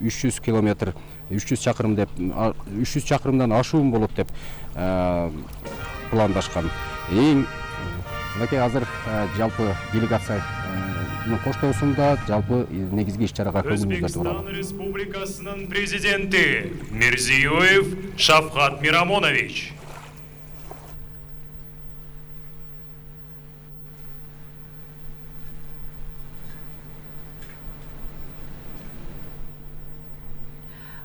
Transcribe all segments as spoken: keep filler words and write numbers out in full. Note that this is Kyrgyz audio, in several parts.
үч жүз километр, үч жүз чакырым деп, үч жүз чакырымдан ашуун болот деп пландашкан. Эң мынакей азыр жалпы делегация коштоосунда жалпы негизги иш-чарага көңүлүңүздөрдү буралы. Өзбекстан Республикасынын президенти Мирзиёев Шавкат Мирамонович.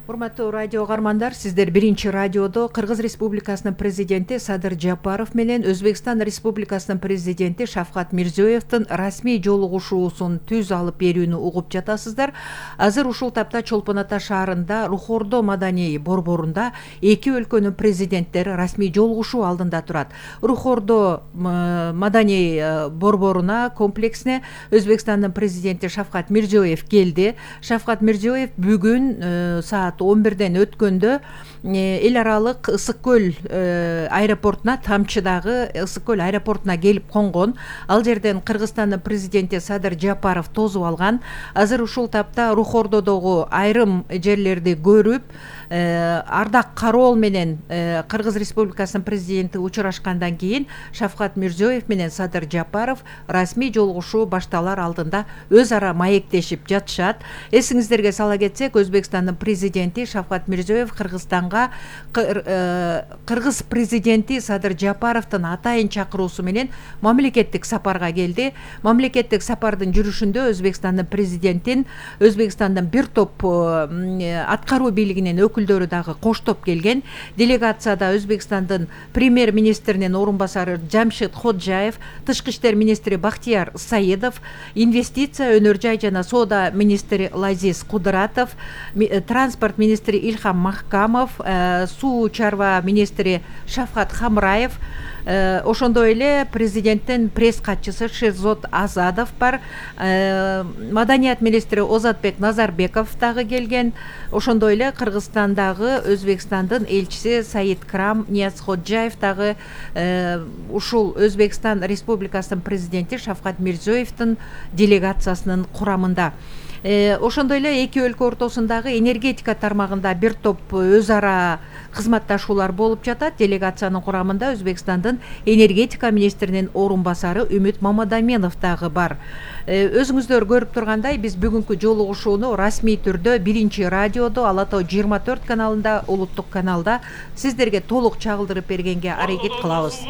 Урматтуу радио каармандар, сиздер биринчи радиодо Кыргыз Республикасынын президенти Садыр Жапаров менен Өзбекстан Республикасынын президенти Шавкат Мирзиёевдин расмий жолугушуусун түз алып берүүнү угуп жатасыздар. Азыр ушул тапта Чолпон Ата шаарында Рухордо маданий борборунда эки өлкөнүн президенттери расмий жолугушуу алдында турат. Рухордо маданий борборуна, комплексине Өзбекстандын президенти Шавкат Мирзиёев келди. Шавкат Мирзиёев бүгүн саат он бирден өткөндө эл аралык Ысык көл аэропортуна, Тамчыдагы Ысык көл аэропортуна келип конгон. Ал жерден Кыргызстандын президенти Садыр Жапаров тосуп алган. Азыр ушул тапта Рухордодогу айрым жерлерди көрүп, ардак кароол менен Кыргыз Республикасынын президенти учурашкандан кийин Шавкат Мирзиёев менен Садыр Жапаров расмий жолугушуу башталар алдында өз ара маектешип жатышат. Эсиңиздерге сала кетсек, Өзбекстандын президенти Шавкат Мирзиёев Кыргызстанга Кыргыз президенти Садыр Жапаровдун атайын чакыруусу менен мамлекеттик сапарга келди. Мамлекеттик сапардын жүрүшүндө Өзбекстандын президентин Өзбекстандын бир топ аткаруу бийлигинин өкүлдөрү дагы коштоп келген. Делегацияда Өзбекстандын премьер-министринин орун басары Жамшид Ходжаев, тышкы иштер министри Бактияр Саидов, инвестиция, өнөр жай жана соода министри Лазиз Кудратов, транспорт министри Ильхам Махкамов, суу чарба министри Шавкат Хамраев, ошондой эле президенттин пресс катчысы Шерзот Азадов бар, маданият министри Озатбек Назарбеков дагы келген. Ошондой эле Кыргызстандагы Өзбекстандын элчиси Саид Крам Ниязходжаев дагы ушул Өзбекстан Республикасынын президенти Шавкат Мирзиёевдин делегациясынын курамында. Ошондой эле эки өлкө ортосундагы энергетика тармагында бир топ өз ара кызматташуулар болуп жатат. Делегациянын курамында Өзбекстандын энергетика министринин орун басары Үмүт Мамадаменов дагы бар. Өзүңүздөр көрүп тургандай, биз бүгүнкү жолугушууну расмий түрдө биринчи радиодо Ала Тоо жыйырма төрт каналында, улуттук каналда сиздерге толук чагылдырып бергенге аракет кылабыз.